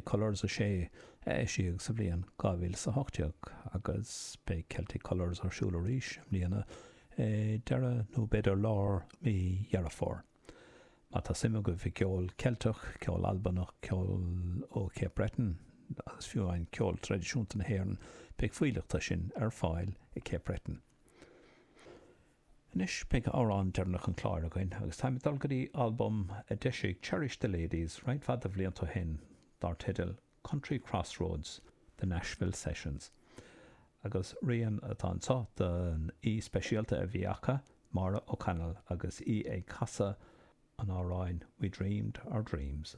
Colours 6 a eisíodh sa bhliain 2018 agus beidh Celtic Colours ar siúl arís i mbliana i deireadh nó b'fhéidir lár mí Dheireadh Fómhair. Má tá suim agaibh i gceol Ceilteach, ceol Albanach, ceol ó Cape Breton agus fiú amháin ceol traidisiúnta na hÉireann, beidh fuílleach de sin ar fáil i Cape Breton. Anois beidh amhrán deireanach an chláir againn agus táim ag dul go dtí albam a d'eisigh Cherish the Ladies roinnt mhaith de bhlianta ó shin dar teideal Country Crossroads, The Nashville Sessions. Agus rian atá anseo den aoi speisialta a bhí acu, Maura O'Connell agus í ag casadh an amhráin We Dreamed Our Dreams.